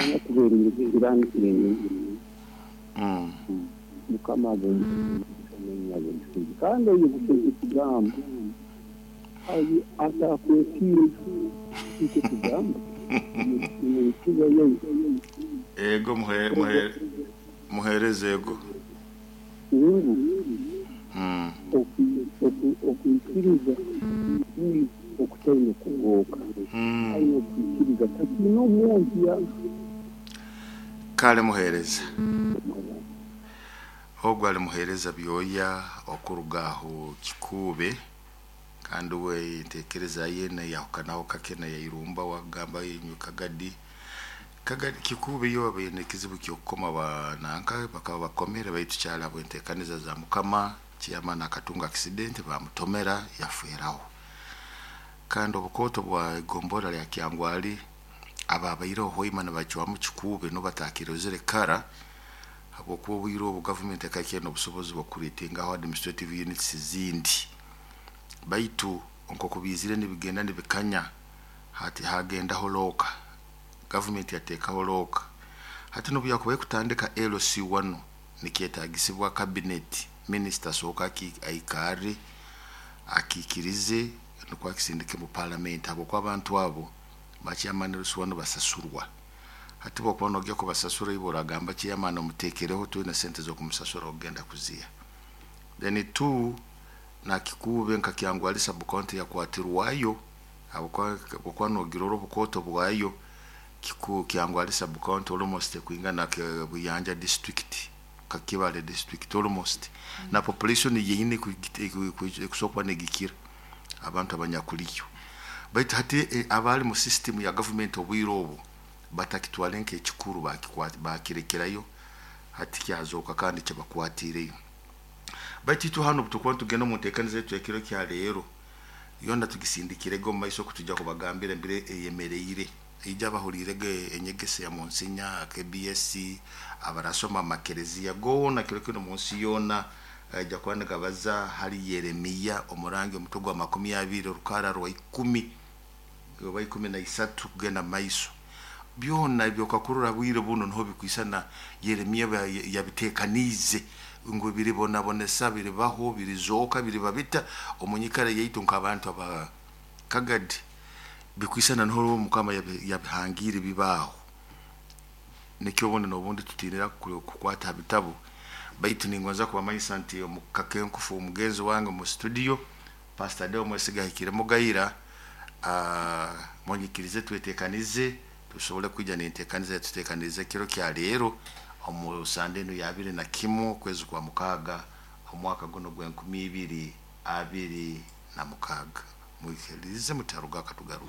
Anyakubeeriire kirani. Mukama ab'omugisha, kandi oyeguseze ekigambo atakwetiire eki tugamba omu yaitu. Ego, muhereze, ego. Ngu okwikiriza okutaine kugooka, aine okwikiriza takiine omwohya. Kale muhereza. Ogwo ali muhereza Byoya okuruga aho Kikuube, kandi we entekereza ye neyahukanaho kake neyairumba wagamba inywe Kagadi. Kagadi Kikuube yo baine ekizibu ky'okukoma bananka bakaba bakomere, baitu kyali habw'entekaniza za Mukama. Chairman akatunga accident, bamutomera, yaferaho. Kandi obukoto bwa igombora lya Kyangwali ababaireho hoima nibacwamu Kikuube no batakirozere kara, habwokuba obwire obu gavumenti ekakyenda obusobozi bw'okureetingaho administrative units zindi. Baitu nk'oku biizire nibigenda nibikanya, hati hagendaho looka, gavumenti yateekaho looka. Hati n'obu yakubaye kutandika LC1, nikyetagisibwa cabinet minister asooka aikarre akiikirize, nukwo akisindike mu parliament, habwokuba abantu abo ba chairman LC1 basasurwa. Hati bwokuba nogya kubasasura, iwe oragamba chairman omutekereho, twine sente z'okumusasura, ogenda kuziha. Then two, na Kikuube nka Kyangwali sub county yakwatirwayo, habwokuba nogirora obukoto bwayo, Kyangwali sub county almost ekwingana Buyanja district, Kakibale district almost, na population yeine ekusobola kuba negikira abantu abanyakuliyo. Baitu hati abali mu system ya government obwire obu batakitwale nk'ekikuru, bakirekerayo, hati kyazooka kandi kibakwatireyo. Baitu itwe hano obutukuba nitugenda omu nteekaniza yaitu ekiro kya leero, yona tugisindikirege omu maiso, okutujja kubagambira embire eyemereire. Ija abahuliirege enyegesa ya Monsinya KBS, abarasoma amakereziya goona kiro kinu mu nsi yoona aija kuba nigabaza hali Yeremiya omurangi, omutwe gwa 20, orukara rwa 10 oba 13 kugenda maiso. Byona ebyokakurora bwire buno niho bikwisana Yeremiya yabitekaniize ngu biribonabonesa, biribaho, birizooka, biriba bita omu nyikara yaitu nk'abantu aba Kagadi, bikwisana niho Mukama yabihangiire bibaho. Nikyo obundi n'obundi tutinira kukwata ha bitabu. Baitu ningonza kubamanyisa nti omu kakenkufu omugenzi wange mu studio, Pastor Deo Mwesiga ahikire Mugaira, munyikirize twetekanize tusobole kwija n'entekaniza yatutekanize ekiro kya leero omu sande enu ya 21 okwezi kwa 6 omwaka guno gw'enkumi ibiri abiri na mukaaga. Mwikirize mutaruga akatugaruka.